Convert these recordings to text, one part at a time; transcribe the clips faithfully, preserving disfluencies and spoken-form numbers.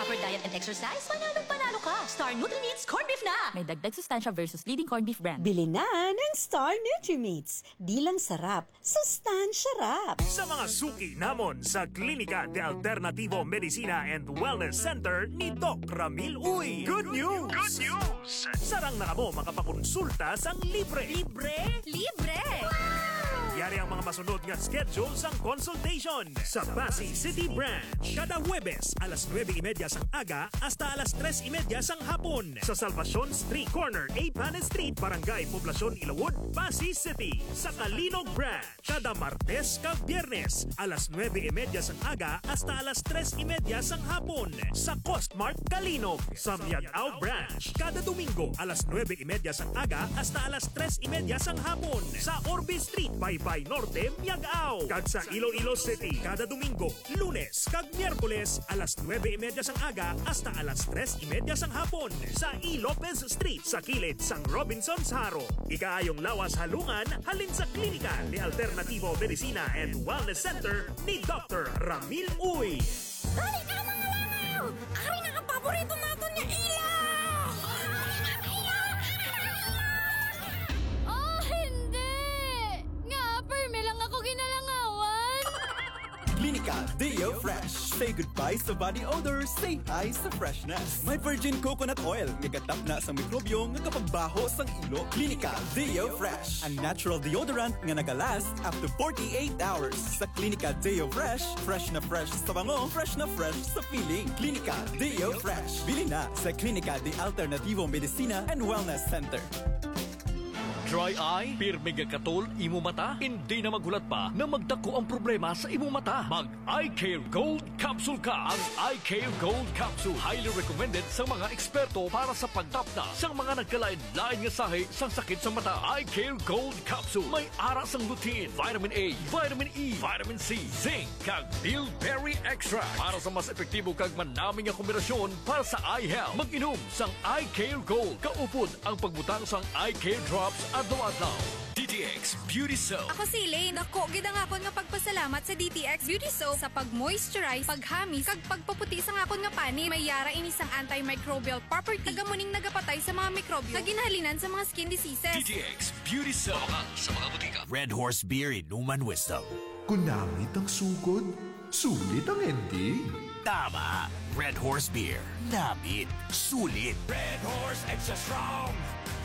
Proper diet and exercise, panalong panalo ka. Star Nutrimits Corned Beef na! May dagdag sustansya versus leading corned beef brand. Bili na ng Star Nutrimits. Di lang sarap, sustansya rap. Sa mga suki namon sa Klinika de Alternativo Medicina and Wellness Center ni Doc Ramil Uy. Good news! Good news! Sarang na kamo makapakonsulta sang libre. Libre? Libre! Yari ang mga masunod nga schedule sang consultation. Sa Passi City Branch, kada Huwebes alas nuebe y media sang aga hasta alas tres y media sang hapon. Sa Salvacion Street, corner Eighth Street, Barangay Poblacion, Ilawod, Passi City. Sa Calinog Branch, kada Martes kag Biyernes, alas nuebe y media sang aga hasta alas tres y media sang hapon, sa Costmart Calinog. Sa Miag-ao Branch, kada Domingo, alas nuebe y media sang aga hasta alas tres y media sang hapon, sa Orbe Street, Baybay Norte, Miag-ao. Kag sa Iloilo City, kada Domingo, Lunes, kag Miyerkules, alas nuebe y media sang aga hasta alas tres y media sang hapon, sa E. Lopez Street, sa kilid sang Robinsons Jaro. Ikaayong lawas halungan halin sa Klinika de Alternativo Medicina and Wellness Center ni Doctor Ramil Uy. Dali ka, mga langaw! Ari na ang paborito naton nga ilaw! Oh, hindi! Nga, permi lang ako ginalangawan! Klinika Deo Fresh. Say goodbye sa body odor. Say hi sa freshness. May virgin coconut oil nga gatapna sa mikrobyo nga kapagbaho sang ilo. Klinika Deo Fresh, a natural deodorant nga nagalast up to forty-eight hours. Sa Klinika Deo Fresh, fresh na fresh sa bango, fresh na fresh sa feeling. Klinika Deo Fresh. Bili na sa Klinika de Alternativo Medicina and Wellness Center. Dry eye? Pirmi nga katol imo mata? Hindi na maghulat pa na magdako ang problema sa imo mata. Mag Eye Care Gold Capsule ka. Ang Eye Care Gold Capsule highly recommended sa mga eksperto para sa pagtapna sa mga nagkalain-lain nga sahi sang sakit sa mata. Eye Care Gold Capsule may ara sang lutein, vitamin A, vitamin E, vitamin C, zinc, kag bilberry extract para sa mas epektibo kag manami nga kombinasyon para sa eye health. Mag-inom sang Eye Care Gold. Kaupod ang pagbutang sang Eye Care Drops adlaw-adlaw. D T X Beauty Soap. Ako si Elaine. Dako gid ang akon nga pagpasalamat sa D T X Beauty Soap sa pag-moisturize, paghamis, kag pagpaputi sang akon nga panit. May ara ini sang antimicrobial property, kag amo ning nagapatay sa mga mikrobyo nga ginahalinan sa mga skin diseases. D T X Beauty Soap. Mabakal sa mga butika. Red Horse Beer, Inuman Wisdom. Kung namit ang sugod, sulit ang ending. Tama. Red Horse Beer. Namit. Sulit. Red Horse Extra Strong,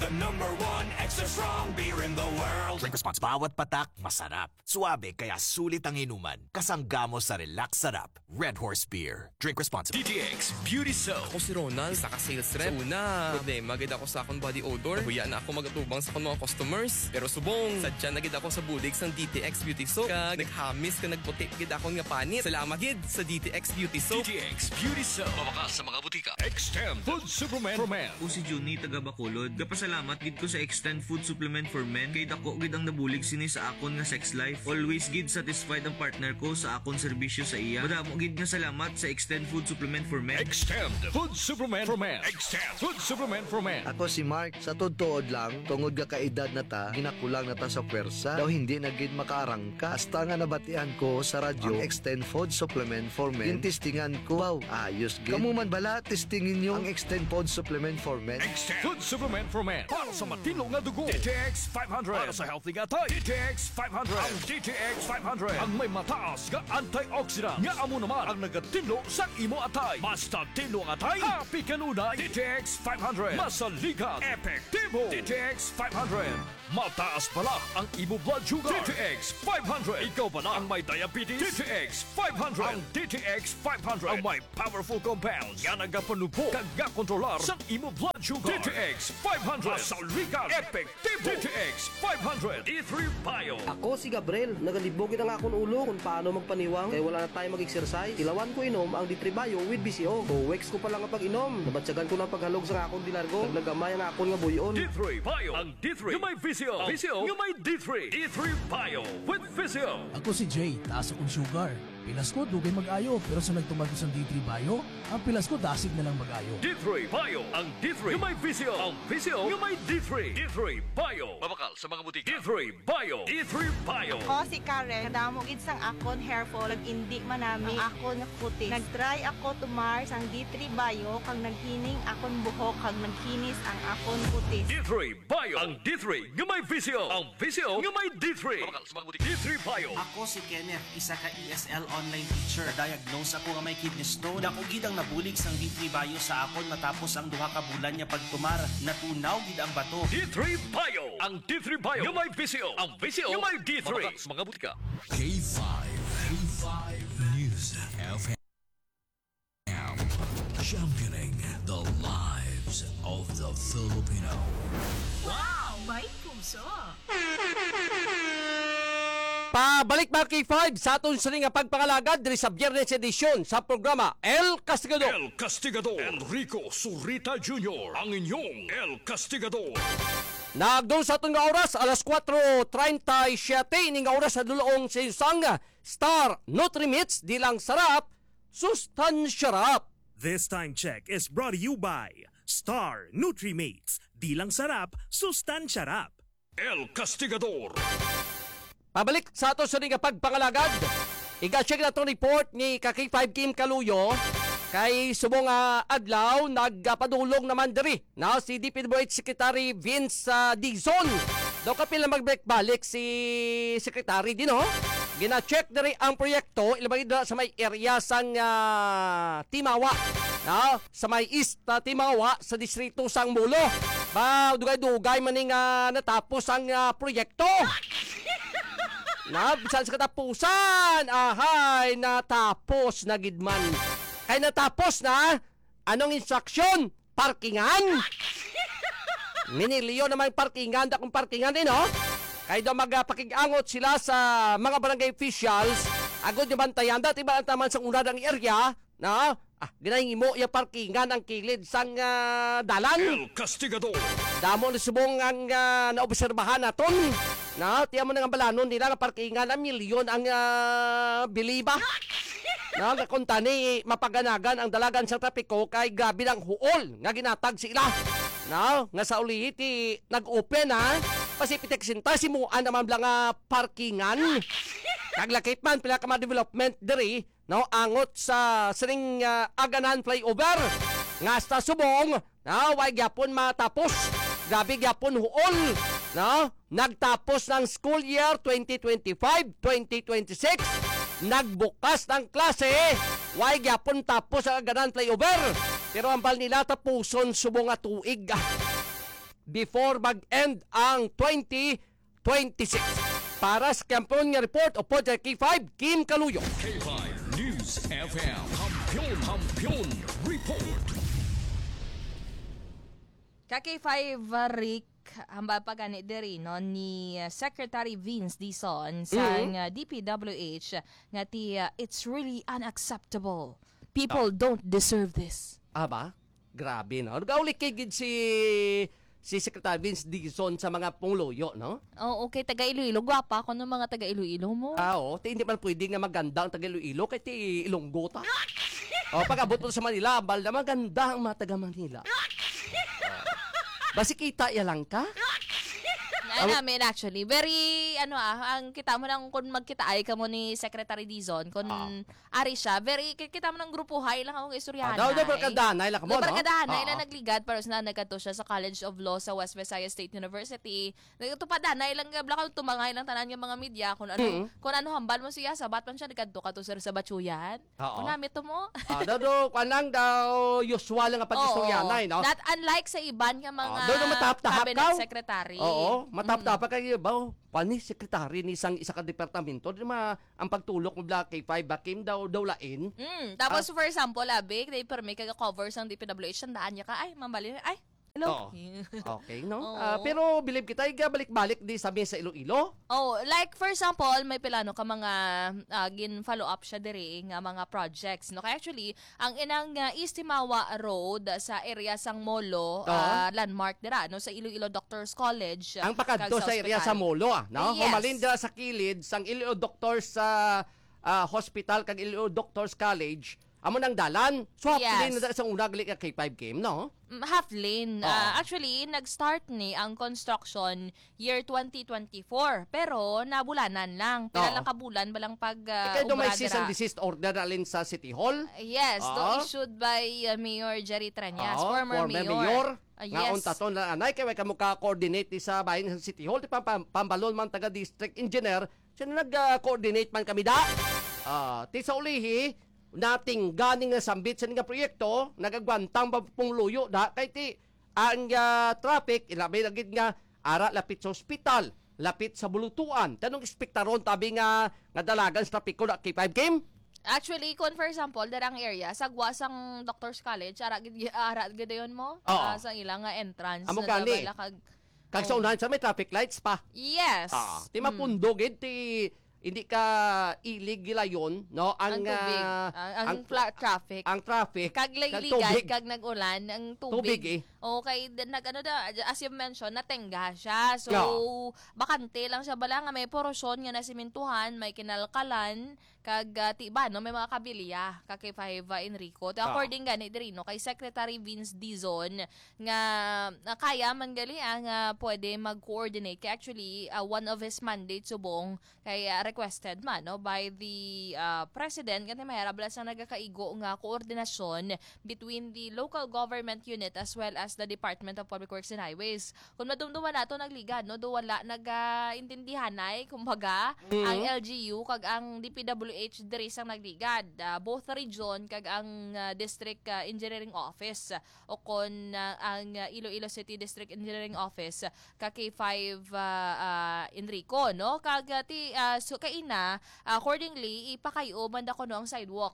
the number one extra strong beer in the world. Drink responsible. Bawat patak, masarap. Suabe, kaya sulit ang inuman. Kasangga mo sa relax sarap. Red Horse Beer. Drink responsibly. D T X Beauty Soap. Ako si Ronald, isa ka sales rep. Sa una, problema gid ako sa akong body odor. Nahuya na ako mag-atubang sa akong mga customers. Pero subong, sadya na gid ako sa bulig sang D T X Beauty Soap. Kag naghamis kag nagputi gid akong nga panit. Salamat gid sa D T X Beauty Soap. D T X Beauty Soap. Mabakal sa mga butika. Extend Food Supplement for Men. Ako si Junie, taga Bacolod. Gapasalamat gid ko sa Extend Food Supplement for Men, kay dako gid ang nabulig sini sa akon nga sex life. Always gid satisfied ang partner ko sa akon serbisyo sa iya. Madamo gid nga salamat sa Extend Food Supplement for Men. Extend Food Supplement for Men. Extend Food Supplement for Men. Ako si Mark. Sa tuod-tuod lang, tungod nga kaedad na ta, ginakulang na ta sa pwersa. Daw hindi na gid makaarangka. Hasta nga nabatian ko sa radyo ang Extend Food Supplement for Men, gintistingan ko. Wow, ayos gid. Kamo man bala, testingi ninyo ang Extend Food Supplement for Men. Extend Food Supplement for Men. Para sa matinlo nga dugo, D T X five hundred. Para sa healthy nga atay, D T X five hundred. Ang D T X five hundred ang may mataas nga antioxidant, nga amo naman ang nagatinlo sa imo atay. Basta tinlo ang atay, happy kanunay. D T X five hundred. Masaligan, epektibo. D T X five hundred. Mataas bala ang imo blood sugar, D T X five hundred. Ikaw bala ang may diabetes, D T X five hundred. Ang D T X five hundred ang may powerful compounds nga nagapanubo kag gakontrolar sang imo blood sugar, D T X five hundred. Masaligan, epektibo, D T X five hundred. D three Bio. Ako si Gabriel. Nagalibog gid ang akon ulo kung paano magpaniwang kay wala na tayo mag-exercise. Tilawan ko inom ang D three Bio with B C O. Two weeks ko pa lang ang pag-inom, nabatyagan ko na ang paghalog sa akon dilargo. Naglagamay ang akon nga buy-on. D three Bio. Ang D three nga may V C O. V C O nga may D three. D three Bio with V C O. Ako si Jay, taas akong sugar. Pilas ko, dugay mag-ayo, pero sa nagtuman ko sang D three Bio, ang pilas ko dasig na lang mag-ayo. D three Bio, ang D three nga may visyo, ang visyo nga may D three. D three Bio. Mabakal sa mga butika. D three Bio. D three Bio. Ako si Karen. Kadamo gid sang akon hair fall, nag-indi manami ang akon kutis. Nag-try ako tumar sang D three Bio, kag naghining akon buhok, kag naghinis ang akon kutis. D three Bio. Ang D three nga may visyo. Ang visyo nga may D three. Mabakal sa mga butika. D three Bio. Ako si Kenneth, isa ka E S L online teacher. Na-diagnose ako nga may kidney stone. Dako gid ang nabulig sang D three Bio sa akon matapos ang duha ka bulan nga pagtumar. Natunaw gid ang bato. D three Bio. Ang D three Bio nga may visyo. Ang visyo nga may D three. Mabakal sa mga butika. K five. K five News F M. Championing the lives of the Filipino. Wow! May puso! Pabalik, mga K five, sa aton sini nga pagpangalagad diri sa Biyernes edisyon sa programa El Castigador. El Castigador. Enrico Zurita Junior, ang inyong El Castigador. Nagdul sa aton nga oras, alas kuwatro treinta y siete, ining nga oras sa dulong sa isang Star Nutrimits, di lang sarap, sustansya rap. This time check is brought to you by Star Nutrimits. Di lang sarap, sustansya rap. El Castigador. Pabalik sa ato sa nga pagpangalagad. Iga-check na itong report ni ka K five Kim Kaluyo. Kay subong nga adlaw, nagpadulong naman diri na si D P W H Secretary Vince, ah, Dizon. Daw kapil na magbalik-balik si Secretary din, ho? Gina-check diri ang proyekto, ilabay na sa may area sang, ah, Timawa, no? Sa may East, ah, Timawa, sa distrito sang Molo. Ba, dugay-dugay man ni nga natapos ang, ah, proyekto. Na, bisan sa katapusan, ahay, natapos na gid man. Kay natapos na, anong instruction? Parkingan? Minilyon naman parkingan, dakong parkingan din, no? Kay daw magpakig-angot sila sa mga barangay officials, agod nga bantayan, dati ba ang taman sa una ang area, no? Ah, ginahimo yung parkingan ang kilid sang, ah, dalan. El Castigador. Damo na subong ang, ah, naobserbahan naton. No? Tiyan mo na nga balanon nila nga parkingan ang milyon ang, ah, biliba. No? Nga kung tani, mapaganagan ang dalagan sa trapiko kay grabe ng huol nga ginatag sila. No? Nga sa ulihi, ti, nag-open, ha? Pasipitek sinta, simuan naman bala nga parkingan. Kaglakip man, pila ka mga development diri, no, angot sa sining, ah, Aganan Flyover nga sa subong, no, way gyapon matapos. Grabe gyapon huol, no? Nagtapos ng school year twenty twenty-five, twenty twenty-six. Nagbukas ng klase, way gyapon tapos ang Aganan Flyover. Pero ang bal nila tapuson subong nga tuig, ah, before mag-end ang twenty twenty-six. Para sa kampiyon nga report, upod kay K five, Kim Kaluyo. K five News F M. Kampiyon, Kampiyon Report. Ka K five, uh, Rick, hambal pa gani diri, no, ni, uh, Secretary Vince Dizon sang, Mhm. uh, D P W H nga ti, uh, "It's really unacceptable. People Oh. don't deserve this." Ah, ba? Grabe, no? Nagaulikig gid si, si Secretary Vince Dizon sa mga pangluyo, no? Oo, kay taga Iloilo. Gwapa ko ng mga taga Iloilo mo. Ah, oo. Ti, hindi man pwede nga maganda ang taga Iloilo kay ti Ilonggo ta. Oh, pag-abot mo sa Manila, ambal na maganda ang mga taga Manila. Oh. Basi kita ya lang ka? Ay, Ang namin, actually. Very, ano, ah, ang kita mo lang kung magkitaay ka mo ni Secretary Dizon, kung Ah. ari siya, very, ki-, kita mo ng grupo, hay lang akong istoryahan, Ah, daw, daw, hay. Barkadahan, hay lang mo, Daw, no? barkadahan, hay Oo. lang nagligad, pero sa nagkadto siya sa College of Law sa West Visayas State University. Nagtupadan, hay lang, bla-, tumangay lang tanan nga mga media, kung ano, Mm. kung ano hambal mo siya, sabat man siya, nagkadto ka to, sir, sa Batsuyan. Oo. Kung namit to mo. Ah, daw, daw, kwan lang daw, usual lang ang pag-istoryanay, Oo. no? Not unlike sa iban nga mga Ah, daw, daw, matahap-tahap cabinet ka. secretary. Oo, matahap-tahap Mm. kayo, ba? Pani secretary ni sang isa ka departamento, di ma-, ang pagtulok mo bla K five ba, Kim, daw, daw lain? Mm, tapos, Ah. for example, abi, kay permi ka cover sang D P W H, tandaan niya ka, ay, mambali, ay, hello. Oo. Okay, no? Oo. Ah, pero believe kita, iga balik-balik di sa mi sa Iloilo. Oh, like, for example, may pilano ka mga, ah, gin-follow up siya diri nga mga projects, no? Kaya actually, ang inang, ah, East Timawa Road sa area sang Molo, Oo. ah, landmark dira, no, sa Iloilo Doctors College, Ang pakadto kag sa sa area sa ospital. Molo, ah, no? Yes. Humalin dira sa kilid sang Iloilo Doctors, ah, ah, Hospital kag Iloilo Doctors College, amo nang dalan. So, half Yes. lane na sa una gali ka K five Kim, no? Mm, half lane. Oh. Ah, actually, nag-start ni ang construction year twenty twenty-four, pero nabulanan lang. Pila Oo. lang ka bulan ba lang pag, ah, Kay do may obra cease and dira? desist order na alin sa City Hall? Yes, do Ah. issued by, uh, Mayor Jerry Treñas, Oo, former former mayor. mayor. Ah, Nga yes. unta to na anay kay way ka mo ka-coordinate ni sa bahin sa City Hall, di pa pam-, pambalon man taga district engineer, sino nag-coordinate man kami da? Ah, ti sa ulihi, nating gani nga sambit sa nga proyekto, nagagwantang ba pong luyo da kay ti ang, ah, traffic, ilabi na gid nga ara lapit sa ospital, lapit sa bulutuan. Tanong espektaron tabi nga nga dalagan sa trapiko na K five Kim? Actually, kung for example, darang area, sagwa sang Doctors College, ara gid, ara gid dayon mo, Oo. ah, sa ilang nga entrance Amo na gani. Dabala kag Kag sa Oh. unahan sa may traffic lights pa. Yes. Ah, ti Mm. mapundo gid ti hindi ka ilig gilayon, no? Ang, Ang tubig. ah, Ang, ang ang fla-, traffic. ang traffic, Kag kag ligligad, tubig. kag nag-ulan, ang tubig. Tubig, eh. Okay, then nag-, ano da, as you mentioned, natengga siya. So, Yeah. bakante lang siya bala nga may porosyon nga nasimintuhan, may kinalkalan, kag, ah, ti ba, no, may mga kabilya ka K five, ah, Enrico. Ti Ah. according gani diri, no, kay Secretary Vince Dizon nga, ah, kaya man gali, ah, nga pwede mag-coordinate. Kay actually, ah, one of his mandate subong kay, ah, requested man, no, by the, ah, President, kanti mahirap lang sang nagakaigo nga koordinasyon between the local government unit as well as the Department of Public Works and Highways. Kung madumduman nato nagligad, no, do wala nagaintindihanay, kumbaga, Mhm. ang L G U kag ang D P W H diri sang nagligad. Ah, both region kag ang, ah, District, ah, Engineering Office o kon, ah, ang, ah, Iloilo City District Engineering Office ka K five, ah, ah, Enrico, no? Kag, ah, ti, ah, so, kaina, accordingly, ipakay-o man da kuno ang sidewalk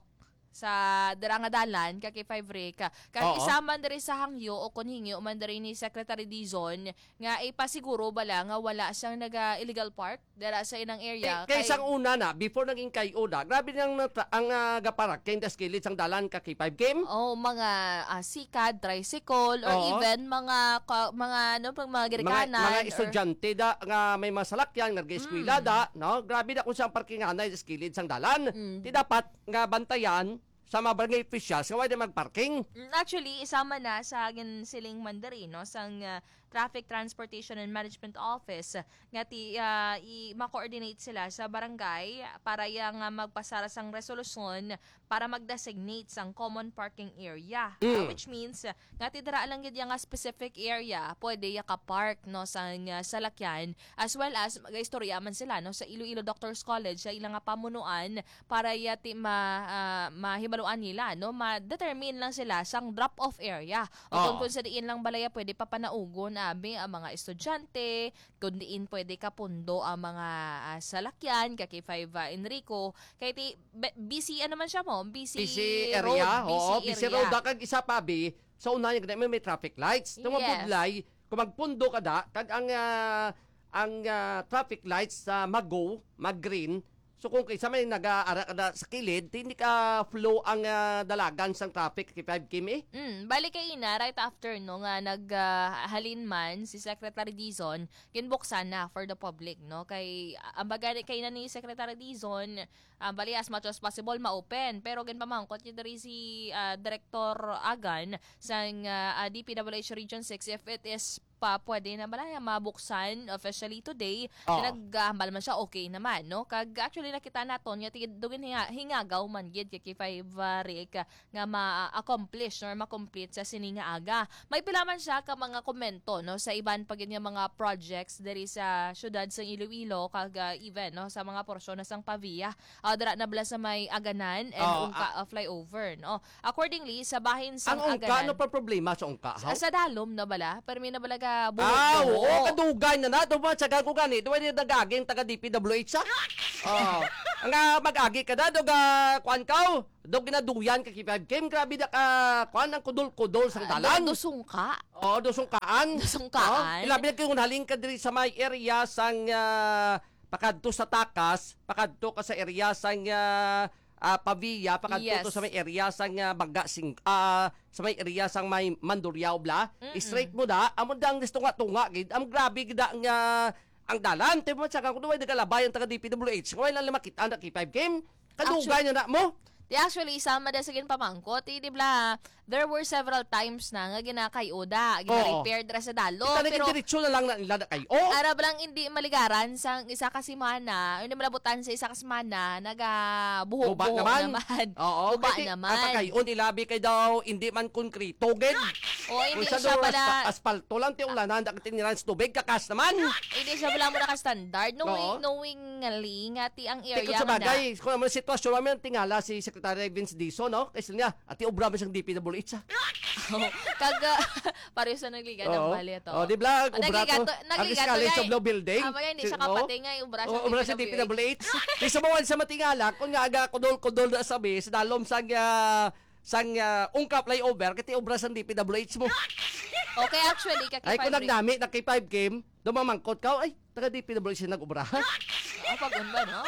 sa dira nga dalan ka K five Rick. Kag Oo. isa man diri sa hangyo o kon hingyo man diri ni Secretary Dizon nga ipasiguro bala nga wala siyang naga-illegal park dira sa inang area. Kay, kay Kay sang una na, before naging kay-o da, grabe nang nata-, ang, ah, gaparak kay das kilid sang dalan ka K five Kim. Oh, mga, ah, sikad, tricycle, or Oo. even mga ka-, mga, ano, pag mga Mga, girikanan mga or estudyante da, nga may mga salakyan, nga nag-eskwela Mm. da, no? Grabe na kung siyang parkinganay sa kilid sang dalan. Mm. Ti dapat nga bantayan sa mga barangay officials nga wala magparking. Mm, actually, isama na sa ginsiling man diri, no, sang, ah, Traffic Transportation and Management Office nga ti, ah, i-, ma-coordinate sila sa barangay para ya nga magpasara sang resolusyon para mag-designate sang common parking area. Ah, Mm. which means, ah, nga ti dira lang gid ya nga specific area pwede ya ka-park, no, sang, ah, salakyan, as well as mag-istorya man sila, no, sa Iloilo Doctors College sa ilang nga pamunuan para ya ti ma-, ah, mahibaluan nila, no? Ma-determine lang sila sang drop-off area. O kung, Oo. kung sa diin lang balaya pwede papanaugon, abi, ang mga estudyante, kung diin pwede kapundo ang mga, ah, salakyan, ka K five, ah, Enrico. Kay ti, be-, busy, ano man siya mo? Busy Busy road, area, oo, busy busy area. road. Kag isa pa, bi, sa unahan, may, may traffic lights. Yes. Tumabudlay, kung magpundo ka da, kag ang, ah, ang, ah, traffic lights sa mag-go, mag-green, so kung kaysa may nag-aara ka da sa kilid, di, hindi ka flow ang, ah, dalagan sang traffic, K five Kim, eh. Mm, bali kay ina, right after, no, nga nag, ah, halin man si Secretary Dizon, ginbuksan na for the public, no? Kay, ah, ang bagay kay na ni Secretary Dizon, ah, bali as much as possible ma-open. Pero ginpamangkot niya diri si, ah, Director Agan sang, ah, ah, D P W H Region six if it is pa pwede na bala nga mabuksan officially today. Oo. Kay naghambal man siya, okay naman, no? Kag actually, nakita naton nga ti-, dugin hinga-, hingagaw man gid kay K five, ah, Rick, nga ma-accomplish or ma-complete sa sini nga aga. May pila man siya ka mga komento, no, sa iban pa gid nga mga projects diri sa siyudad sa Iloilo, kag, ah, even, no, sa mga porsyon na sang Pavia. Ah, dira na bala sa may Aganan and Oo, Ungka, ah, ah, flyover, no? Accordingly, sa bahin sang Ang Ungka, Aganan, ano pa problema sa Ungka, sa, haw? sa dalom na bala, permi na bala ka Ah, buhok-buhok. oo, kadugay na na. Daw ba, sa gago gani, daw ay nag-agi ang taga D P W H, ah? Oo. Ang, ah, mag-agi ka na, daw ga, kuan ka, oh. Daw ginaduyan ka, K five Kim. Grabe na ka, kuan, ang kudol-kudol sang Ah, dalan. do-, dosungka. Oo, dosungkaan. Dosungkaan. Oo. Ilabi na kung haling ka diri sa may area sang, ah, pakadto sa Takas, pakadto ka sa area sang, ah, ah, Pavia, pakadto Yes. to sa may area sang, ah, Baga sing-, ah, sa may area sang may Mandurriao bla. Mm-mm. Straight mo da, amo da ang tunga-tunga gid. Ang grabe gid ang, ah, ang dalan. Ti mo sa kung way nagalabay ang taga D P W H. Kung way lang makita ang K five Kim. Kadugay na na mo. Di, actually, sama da sa ginpamangkot. Eh, di bla, there were several times na nga ginakay-o da, Oo. gina-repair dira sa Dalom. Kita na Pero gindiretso na lang na nila na kay, oh! Ara ba lang hindi maligaran sang isa ka semana, hindi malabutan sa isa ka semana, nagabuho-buho Guba naman. naman. Oo, Guba kay ti-, naman. ang pagkayon, ilabi kay daw, hindi man konkreto, gid. Oh, hindi Kung sa siya duras pala pa-, aspalto lang, ti ulanan, da ka tiniran sa tubig, kakas naman. Hindi siya pala mo naka-standard. Knowing, Oo. knowing ngali nga ti ang Ti area kung sa nga bagay, na. kung ano ang sitwasyon, may tingala si Secretary Vince Dizon, no? Kay sila niya, ati obra man siyang D P W H, ah. Oh, kag, ah, pareho sa nagligan ng Oo. bali ato. Oh, di ba? Obra Nagligan to, to, nagligan to, Alis-alis sa eh. Blue Building. Ah, bagay, hindi Si-, siya oh. kapatay nga, obra sa Oh, obra sa D P W H. D P W H. Di sa mga sa matingala, kung nga aga, kudol-kudol na sabi, sa dalom sang, ah, sang, ah, Ungka flyover, kay ti obra sang D P W H mo. Okay, actually, kaki Ay, kung five nagnami, naki five K, dumamangkot ka, ay, taga D P W H siya nag-obra. Ah, pag-on ba, no?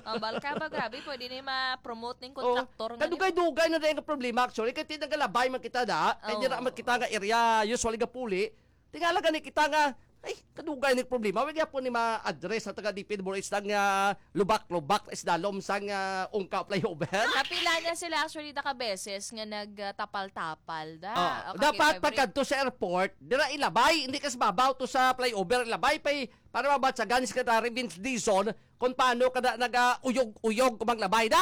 Ah, bal ka ba, grabe, pwede na yung ma-promote ng Oh, kontraktor nga kadugay-dugay na rin ang problema, actually. Kaya tinagalabay man kita da. Kaya di Oo. na man kita nga area, usually gapuli. Tingala gani kita nga, ay, kadugay ni problema. Wag yapon ni ma-address sa taga D P W H lang nga lubak-lubak na isdalom sang, ah, Ungka flyover. Kapila na sila actually nakabeses nga nagtapal-tapal da. Oh, O, dapat kaki-, pagkadto sa airport, dira ilabay, hindi ka sa babaw to sa flyover, ilabay pa eh, para mabatsagan ni Secretary Vince Dizon kung paano ka na nag-uyog-uyog kung maglabay da.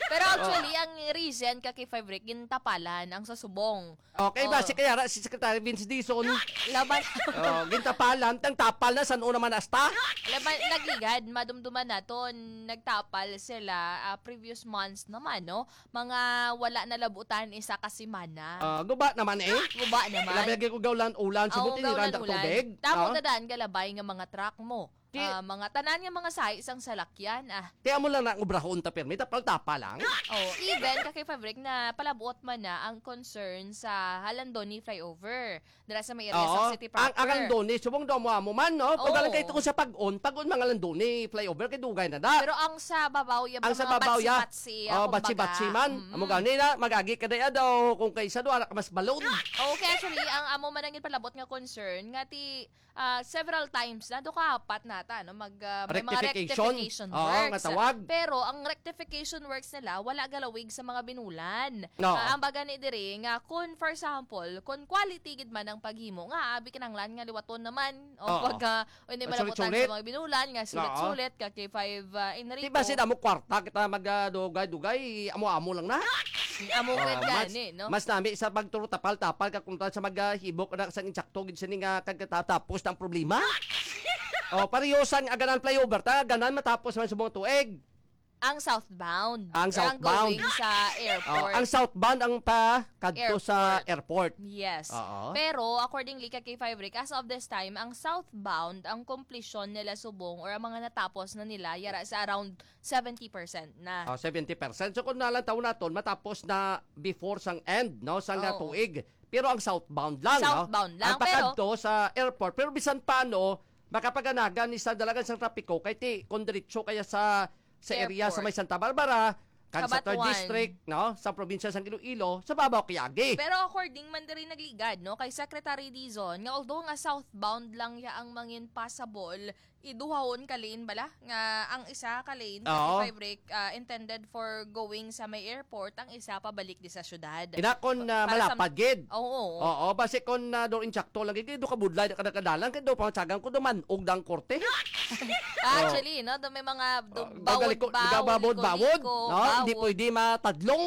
Pero Oh. actually, ang reason, kaki five Rick, gintapalan ang sa subong. Okay, Oh. basi kaya ra si Secretary Vince Dizon. Laban. Oh, gintapalan, tang tapal na, san-o naman hasta? Laban, nagligad, madumduman naton, nagtapal sila, ah, previous months naman, no? Mga wala nalabutan isa ka semana. Ah, guba naman eh. Guba naman. Ilabay ko gawlan ulan, Oo, subot ini gawlan randa ulan. tubig. Tamo Ah. na daan galabay nga mga truck mo. Ti- Ah, mga tanan nga mga size ang salakyan, ah. Ti amo lang na ang obrahon ta, pirmi, tapal-tapa lang. Oh, even, kaki five Rick, na palabuot man na ang concern sa Halandoni flyover. Dira sa may area Oo. sa City Ang, ang Proper. Halandoni, subong daw mo amo man, no? Pag Oo. lang kayo tungkol sa pag-on, pag-on mga Halandoni flyover, kay dugay na da. Pero ang sa babaw, yung Ang sa mga babaw, ya. batsi-batsi, Oh, ah, kumbaga. batsi-batsi man. Mm-mm. Amo gani na, magagi ka na ya daw, kung kaysa doon, ara ka mas balon. Okay, actually, ang amo man ang ipalabot nga concern, nga ti, ah, several times na, do kahapat nata, no? Mag, ah, may mga Rectification? rectification Oo, works. nga tawag. Pero ang rectification works nila, wala galawig sa mga binulan. Oo. Ah, ang baga ni diri nga, kung, for example, kung quality gid man ang paghimo, nga abi kinahanglan nga liwaton naman, o Oo. pag, ah, o hindi Ang malabutan sulit-sulit. sa mga binulan, nga Oo. sulit-sulit, ka K five, ah, Enrico. Di ba sila mo kwarta kita mag, ah, dugay-dugay, amo-amo lang na? Amo Oh, gid mas, gani, no? mas nami sa pagturo tapal-tapal ka kung sa maghibok na sa insakto gid sini nga kagtatapos ng problema. Oh, pareho sang aganan flyover ta, ganan matapos man sa mga tuig. Ang southbound. Ang Or ang southbound. going sa Oh, airport. ang southbound ang pa kadto sa Airport. airport. Yes. Oo. Pero accordingly kay K five Rick, as of this time, ang southbound, ang komplisyon nila subong or ang mga natapos na nila, yara sa around seventy percent na. Oh, seventy percent. So, kung nalantaw naton, matapos na before sang end, no, sang nga Oo. tuig. Pero ang southbound lang, no? Southbound lang, Ang pero pakadto sa airport. Pero bisan pa, no, makapaganagan ni sa dalagan sang trapiko, kay ti, kung diretso kaya sa, sa area sa Airport. may Santa Barbara, kan sa third Cabatuan. District, no, sa probinsya sang Iloilo, sa babaw kay agi. Pero according man diri nagligad, no, kay Secretary Dizon, nga although nga southbound lang ya ang mangin passable, iduhahon ka lane bala, nga ang isa ka lane, Oo. thirty-five Rick, ah, intended for going sa may airport, ang isa pabalik di sa syudad. Ina, kung, ah, Pa-, para sa malapad gid. Oo. Oo, basi kung, ah, do insakto lagi, kay do kabudlay na kada kadalan, kay do pangsagan ko, do man-og dang korte. Ah, Oh. actually, no, do may mga do, Oh, bawod-bawod, gagaliko-, gababawod-bawod, liko-liko, no? Hindi bawod. pwede matadlong.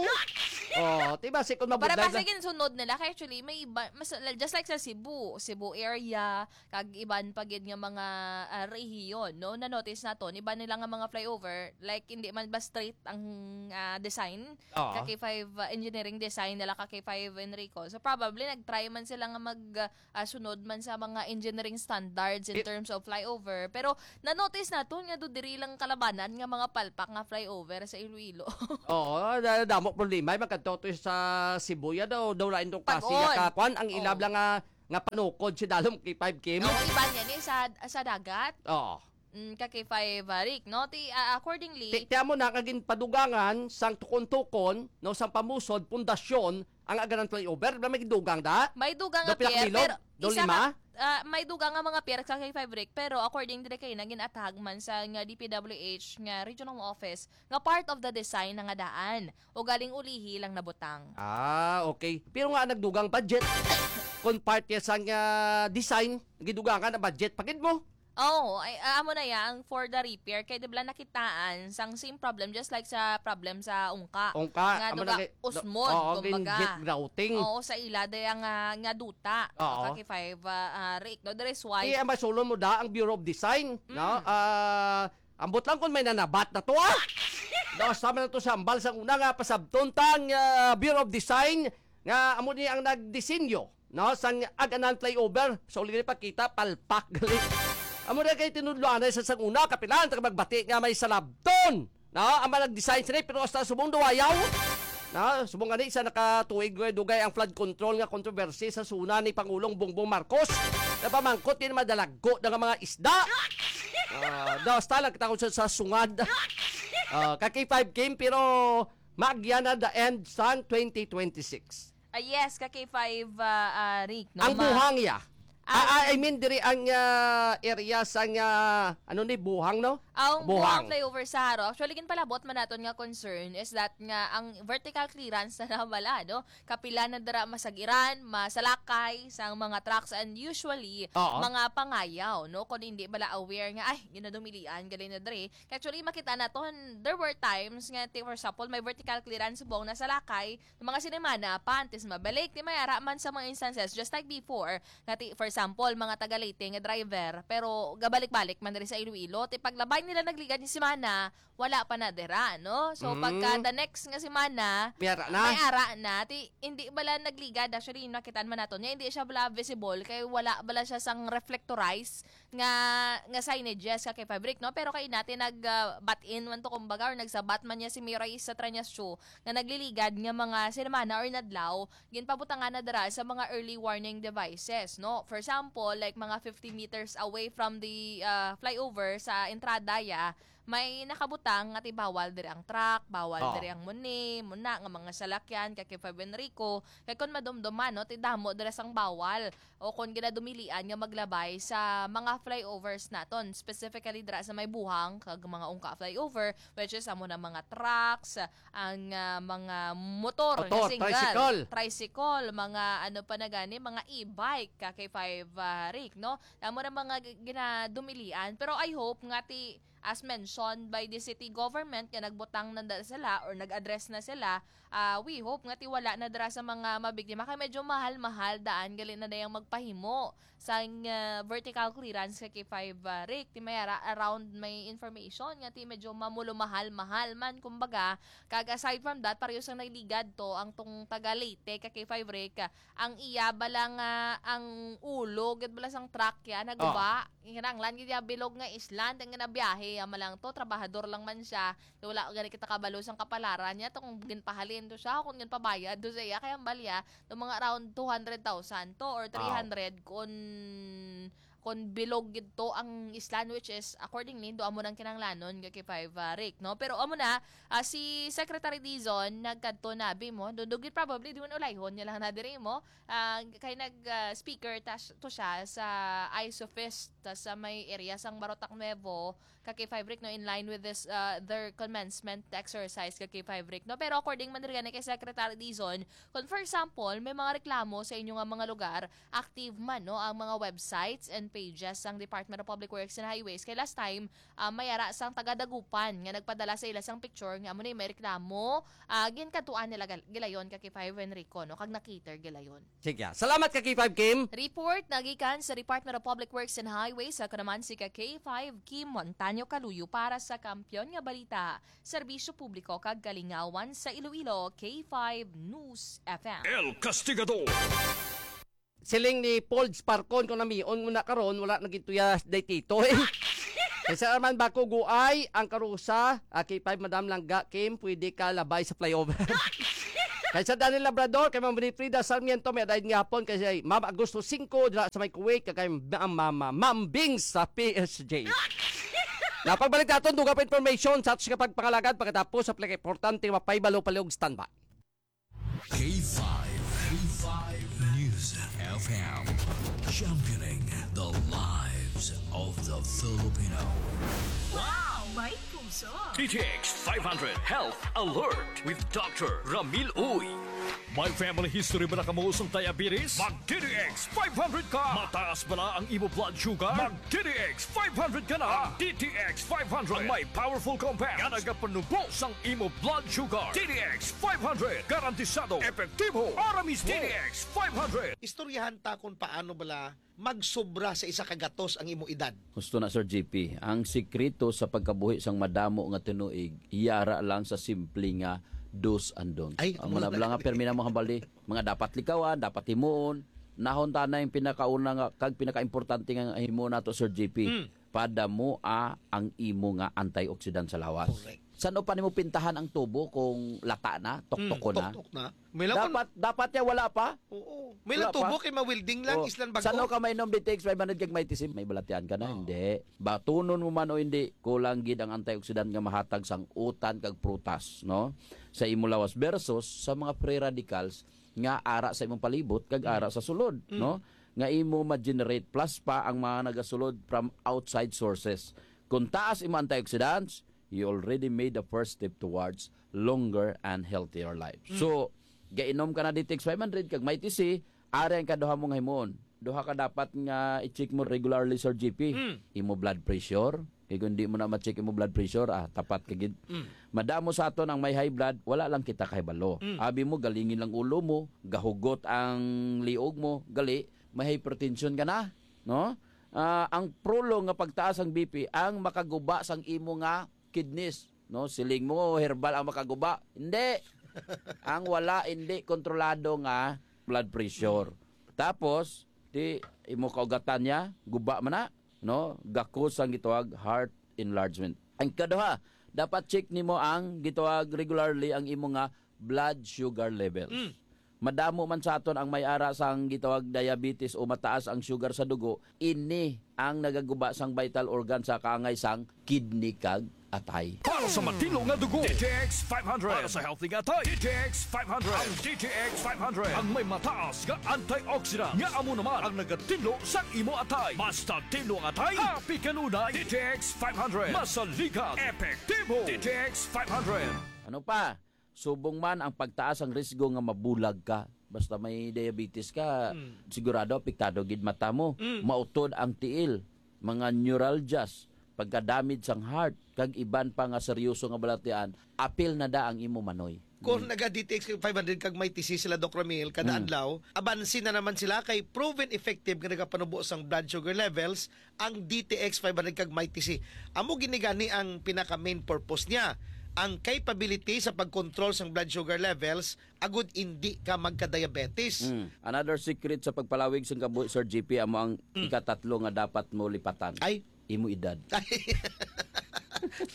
Oh, di ba, si kung Para mabudlay basi lang. ginsunod nila, kay actually, may iba, mas, just like sa Cebu, Cebu area, kag iban pa gid nga mga, ah, rehiyon, no? Na-notice naton, iban nila nga mga flyover, like, hindi man ba straight ang, ah, design? Oo. Ka K five, ah, engineering design nila ka K five Enrico. So, probably, nag-try man sila nga mag, ah, sunod man sa mga engineering standards in It terms of flyover. Pero, na-notice naton nga do diri lang kalabanan nga mga palpak nga flyover sa Iloilo. Oo, da-, damo problema. Ay, magkadto to sa Cebu, ya daw, daw lain tong Pag-on. Pasig, ka, kwan, ang ilab Oo. lang nga nga panukod si Dalom kay five K mo. Oo, iba niya ni sa, sa dagat. Oo. Mm, ka K five, ah, Rick, no? Ti, ah, accordingly, Ti, ti amo na nga ginpadugangan sang tukon-tukon, no, sang pamusod, pundasyon, Ang Aganan Flyover, ba may dugang da? May dugang Do nga pier, pilakmilog? pero Do isa lima? nga, ah, may dugang nga mga pier sa K five Rick, pero according diri kay naging atag man sa nga D P W H nga regional office nga part of the design na nga daan. O galing ulihi lang nabutang. Ah, okay. Pero nga nagdugang budget. Kung part niya sang, ah, design, gidugangan ang budget. Pagid mo? Oo, ay, ah, amo na ya ang for the repair. Kay di ba nakitaan sang same problem, just like sa problem sa ungka. Ungka, Nga amo duga na kay, usmod, oo, kumbaga. Gin-, grouting. Oo, sa ila, daya nga, nga duta. Oo. Ka K five, ah, ah, Rick, no? There is why. Eh, ang masulon mo da, ang Bureau of Design, no? Mm. Ah, ambot lang kung may nanabat na to, ah! Daw, sama na to sa ambal sa una nga pasabton tang, ah, Bureau of Design nga amo ni ang nagdisenyo, no, sang Aganan Flyover. So, uli ni pakita, palpak gali. Amo na kay tinudloan sa sang una, kapilan ta magbati nga may salabton, no, ang mga nag-design sini, pero hasta subong duwayaw. No, subong gani sa nakatuig nga dugay ang flood control nga kontrobersi sa suna ni Pangulong Bongbong Marcos. Napamangkot din madalagko na nga mga isda. Ah, daw, hasta lang kita sa, sa sungad. Ah, ka K five Kim, pero magya na the end sang twenty twenty-six. Ah, yes, ka K five, ah, ah, Rick, no? Ang Ma- buhang iya. Ah, Ah, ah, I mean, diri ang, ah, area sang, ah, ano ni, buhang, no? Ang Buhang. buhang flyover sa Jaro. Actually, ginpalabot man naton nga concern is that nga ang vertical clearance na bala, no? Kapila na dira masagiran, masalakay sang mga trucks and usually Oo. mga pangayaw, no? Kung hindi bala aware nga, ay, ginadumilian, gali na diri. Actually, makita naton, there were times nga, ti-, for example, may vertical clearance subong nasalakay, mga sinimana pa antes mabalik, ti may ara man sa mga instances, just like before, nga ti, for example, mga taga Leyte nga driver, pero gabalik-balik man diri sa Iloilo, ti paglabay nila nagligad ni semana, wala pa na dira, no? So, Mm. pagka the next nga semana, May ara na. may ara na, ti hindi bala nagligad, actually, nakitaan man nato niya, hindi siya bala visible, kay wala bala siya sang reflectorize nga, nga signages ka kay Fabric, no? Pero kay natin nag, ah, bat-in man to, kumbaga, or nagsabat man niya si Miray sa Tranyasyo nga nagliligad nga mga sinamana or nadlaw, ginpabutangan na dira sa mga early warning devices, no? For example, like mga fifty meters away from the, ah, flyover sa entrada ya, may nakabutang nga ti bawal diri ang truck, bawal Oo. diri ang muni, muna nga mga salakyan, ka kay Fab Enrico, kay kon madumduman, no, ti damo dira sang bawal. O kon ginadumilian nga maglabay sa mga flyovers naton, specifically dira sa may Buhang kag mga ungka flyover, which is amo na mga trucks, ang, ah, mga motor nga Motor, single, tricycle. tricycle, mga ano pa na gani, mga e-bike, ka kay five, ah, Rick, no? Amo na mga g-, ginadumilian. Pero I hope nga ti, as mentioned by the city government, nga nagbutang na da sila or nag-address na sila, ah, we hope nga ti wala na dira sa mga mabiktima, kay medyo mahal-mahal daan gali na dayang magpahimo sang, ah, vertical clearance ka kay five, ah, Rick. Ti may ara-, around may information nga ti medyo mamulo mahal-mahal man, kumbaga. Kag aside from that, pareho sang nagligad to ang tong taga Leyte ka kay five, Rick, ah, ang iya bala nga, ang ulo gid bala sang truck ya naguba. Oh. Kinahanglan gid ya bilog nga island ang ginabiyahe ya man lang to, trabahador lang man siya. Wala gani kita kabalo sang kapalaran niya, to kung ginpahalin to siya, kung ginpabayad to sa iya, kay ang balya, to mga around two hundred thousand to or Wow. three hundred kun, kun bilog gid to ang island, which is, accordingly, do amo nang kinahanglanon nga kay five, ah, Rick, no? Pero amo na, ah, si Secretary Dizon nagkadto na, bi mo, dundog gid probably, di man ulayhon niya lang na diri mo, ah, kay nag, ah, speaker ta-, to siya sa ISOFEST, ta sa may area sang Barotac Nuevo, ka K five Rick, no, in line with this, uh, their commencement exercise ka K five Rick, no? Pero according man diri gani kay Secretary Dizon, kung for example, may mga reklamo sa inyo nga mga lugar, active man, no, ang mga websites and pages sang Department of Public Works and Highways. Kay last time, ah, may ara sang taga Dagupan nga nagpadala sa ila sang picture nga amo ni may reklamo, ah, ginkadtuan nila gal-, gilayon ka K five Enrico, no, kag na-cater gilayon. Sige. Salamat ka K five Kim. Report nagikan sa Department of Public Works and Highways, ako naman si ka K five Kim Montaño Caluyo para sa Kampiyon nga Balita, Serbisyo Publiko kag Kalingawan sa Iloilo, K five News F M. El Castigador. Siling ni Paul Sparkon, kung namion mo na karon, wala na gituya day tito, eh. Kaysa naman bako guay ang karusa, ah, K five Madam Langga Kim, pwede ka labay sa flyover. Kaysa Daniel Labrador, kay Ma'am Winifrida Sarmiento, may adaid nga hapon, kay Ma'am Agosto singko, dira sa may Kuwait, kay Ma'am, Ma'am, Ma'am Bing sa P S J. Napagbalik naton, dugang pa information sa atos nga pagpangalagad pagkatapos sa pinakaimportante nga mapahibalo, palihog standby. K five, K five News F M, championing the lives of the Filipino. Wow! May puso! D T X five hundred Health Alert with Doctor Ramil Uy. May family history ba na kamo sang diabetes? Mag D T X five hundred ka! Mataas ba na ang imo blood sugar? Mag D T X five hundred ka na! Ang D T X five hundred ang may powerful compound nga nagapanubo sang imo blood sugar. D T X five hundred, garantisado, epektibo, para mismo. D T X five hundred. Istoryahan ta kung paano bala magsobra sa isa ka gatos ang imo edad. Gusto na, Sir G P, ang sikreto sa pagkabuhi sang madamo nga tinuig, yara lang sa simple nga do's and don'ts. Ay, Ang mga wala. bala nga permi na mo hambali, mga dapat likawan, dapat himuon, nahon ta na yung pinakauna nga, kag pinakaimportante nga himuon nato, Sir G P, Mm. padamua ang imo nga antioxidant sa lawas. Correct. Saan pa nimo pintahan ang tubo kung lata na, toktok ko Mm, na? Toktok na. May lang Dapat, dapat ya wala pa? Oo. May lang Wala pa? tubo kay mawilding lang, Oh, islan bago. Sano ka mainom D T X five hundred kag may tisim? May balatian ka na, Oh. hindi. Batunon mo man o hindi, kulang gid ang antioxidant nga mahatag sang utan kag prutas, no? Sa imo lawas versus sa mga free radicals nga ara sa imong palibot kag ara sa sulod, Mm. no? Nga imo ma-generate plus pa ang mga nagasulod from outside sources. Kung taas imo antioxidants, you already made the first step towards longer and healthier life. Mm. So, gainom ka na D T X five hundred kag may T C, ari ang kaduha mo nga himuon. Duha ka dapat nga i-check mo regularly, Sir G P. Mm. Imo blood pressure. Kay kung di mo na ma-check imo blood pressure, ah, tapat ka gid. Mm. Madamo sa aton ang may high blood, wala lang kita kahibalo. Mm. Abi mo, galingin lang ulo mo, gahugot ang liog mo, gali, may hypertension ka na, no? Ah, ang prolong nga pagtaas ang B P ang makaguba sang imo nga kidneys, no? Siling mo, herbal ang makaguba. Hindi. Ang wala, hindi kontrolado nga blood pressure. Tapos, di imo kaugatan niya, guba man na, no? Gakos ang gitawag heart enlargement. Ang kaduha, dapat check nimo ang gitawag regularly ang imo nga blood sugar levels. Mm. Madamo man sa aton ang may ara sang gitawag diabetes o mataas ang sugar sa dugo, ini ang nagaguba sang vital organ sa kaangay sang kidney kag atay. Para sa matino nga dugo, D T X five hundred. Para sa healthy nga atay, D T X five hundred. Ang D T X five hundred ang may mataas nga antioxidant nga amo naman ang nagatinlo sa imo atay. Mas tinlo ang atay, happy kanunay. D T X five hundred, masaligan, epektibo. D T X five hundred. Ano pa? Subong man ang pagtaas ang risgo nga mabulag ka. Basta may diabetes ka, Mm. sigurado apektado gid mata mo. Mm. Mautod ang tiil, mga neuralgias, pagka-damage sang heart, kag iban pa nga seryoso nga balatian, apil na da ang imo manoy. Kung naga D T X five hundred kag may T C sila, Doc Ramil, kada Mm. adlaw, abansi na naman sila kay proven effective nga nagapanubo sang blood sugar levels ang D T X five hundred kag may T C. Amo gini gani ang pinaka main purpose niya, ang capability sa pag-control sang blood sugar levels agud indi ka magka-diabetes. Mm. Another secret sa pagpalawig sang kabuhi, Sir G P, amo ang Mm. ikatatlo nga dapat mo lipatan. Ay. Imo edad.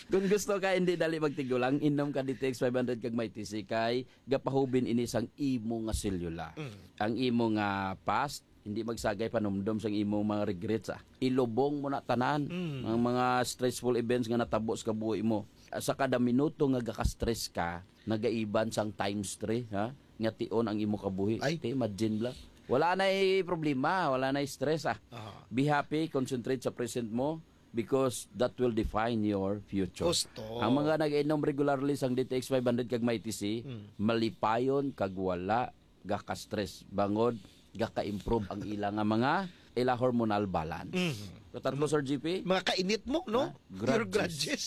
Kung gusto ka hindi dali magtigulang, inom ka D T X five hundred kag may T C kay gapahubin ini sang imo nga selula. Mm. Ang imo nga past, hindi magsagay panumdom sang imo mga regrets, ah. Ilubong mo na tanan Mm. ang mga stressful events nga natabo sa kabuhi mo. Sa kada minuto nga gaka-stress ka, nagaiban sang times three, ha? Nga tion ang imo kabuhi. Ay. Te, imagine lang. Wala na'y problema, wala na'y stress, ah. Aha. Be happy, concentrate sa present mo because that will define your future. Gusto. Ang mga nag-inom regularly sang D T X five hundred kag may T C, Mm. malipayon kag wala gaka-stress. Bangod, gaka-improve ang ila nga mga ila hormonal balance. Mm. Katatlo, Sir G P? Mga kainit mo, no? Ha? Your Grudges. grudges.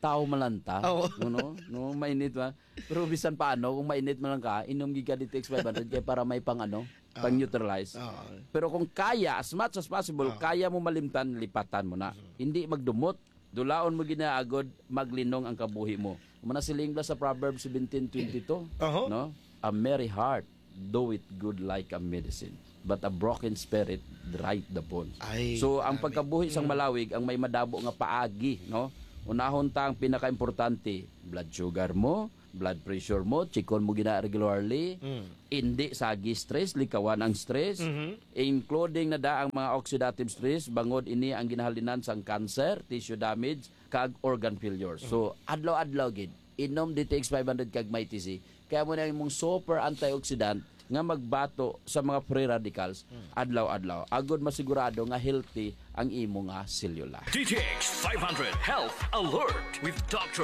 Tao man lang ta. Oo. No, no? No, mainit ba? Pero bisan paano, kung mainit man lang ka, inom gid ka D T X five hundred kay para may pang ano, Ah. pang neutralize. Ah. Pero kung kaya, as much as possible, Ah. kaya mo malimtan, lipatan mo na. Hindi magdumot. Dulaon mo ginaagod, maglinong ang kabuhi mo. Manasiling bala sa Proverbs seventeen twenty-two, Aha. no? A merry heart doeth good like a medicine, but a broken spirit dryeth the bones. Ay, So, ang grabe. pagkabuhi sang Mm. malawig ang may madabo nga paagi, no? Unahon ta ang pinakaimportante, blood sugar mo, blood pressure mo, chikon mo gina regularly. Mm. Indi sagi stress, likawan ang stress, Mhm. including na da ang mga oxidative stress, bangod ini ang ginahalinan sang cancer, tissue damage, kag organ failure. So, adlaw-adlaw gid, inom D T X five hundred kag may T C, Kaya mo na imong super antioxidant nga magbato sa mga free radicals adlaw-adlaw, agod masigurado nga healthy ang imo nga selula. D T X five hundred Health Alert with Doctor